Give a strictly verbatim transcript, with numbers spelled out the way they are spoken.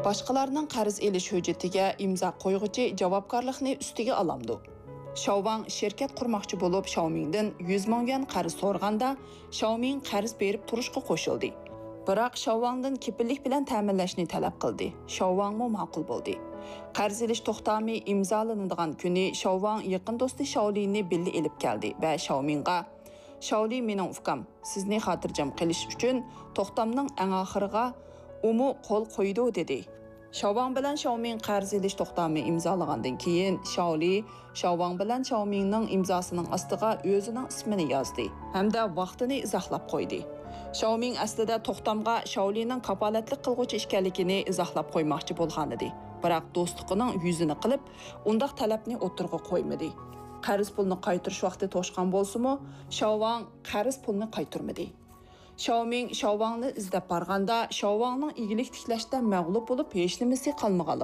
باشقىلارنىڭ قەرز ئېلىش ھۆججىتىگە ئىمزا قويغۇچى جاۋابكارلىقنى ئۈستىگە ئالامدۇ؟ شاۋ ۋاڭ شىركەت قۇرماقچى بولۇپ شاۋ مىڭدىن يۈز مىڭ يۈەن قەرز سورىغاندا، شاۋ مىڭ قەرز بېرىپ تۇرۇشقا قوشۇلدى. بىراق شاۋ ۋاڭدىن كېپىللىك بىلەن تەمىنلەشنى تەلەپ قىلدى. شاۋ ۋاڭمۇ ماقۇل بولدى. قەرز ئېلىش توختامى ئىمزالىنىدىغان كۈنى شاۋ ۋاڭ يېقىن دوستى شاۋ لىنى بىللە ئېلىپ كەلدى ۋە شاۋ مىڭغا، شاۋ لى مېنىڭ ئۇكام، سىزنى خاتىرجەم قىلىش ئۈچۈن توختامنىڭ ئەڭ ئاخىرىغا ئۇمۇ قول قويىدۇ، دېدى. شاۋ ۋاڭ بىلەن شاۋ مىڭ قەرز ئېلىش توختامى ئىمزالىغاندىن كېيىن، شاۋ لى شاۋ ۋاڭ بىلەن شاۋ مىڭنىڭ ئىمزاسىنىڭ ئاستىغا ئۆزىنىڭ ئىسمىنى يازدى ھەمدە ۋاقتىنى ئىزاھلاپ قويدى. شاۋ مىڭ ئەسلىدە توختامغا شاۋ لىنىڭ كاپالەتلىك قىلغۇچى ئىكەنلىكىنى ئىزاھلاپ قويماقچى بولغانىدى، بىراق دوستلۇقىنىڭ يۈزىنى قىلىپ، ئۇنداق تەلەپنى ئوتتۇرىغا قويمىدى. قەرز پۇلنى قايتۇرۇش ۋاقتى توشقان بولسىمۇ، شاۋ ۋاڭ قەرز پۇلنى قايتۇرمىدى. شاۋ مىڭ شاۋ ۋاڭنى ئىزدەپ بارغاندا، شاۋ ۋاڭنىڭ ئىگىلىك تىكلەشتە مەغلۇپ بولۇپ، ھېچنېمىسى قالمىغانلىقى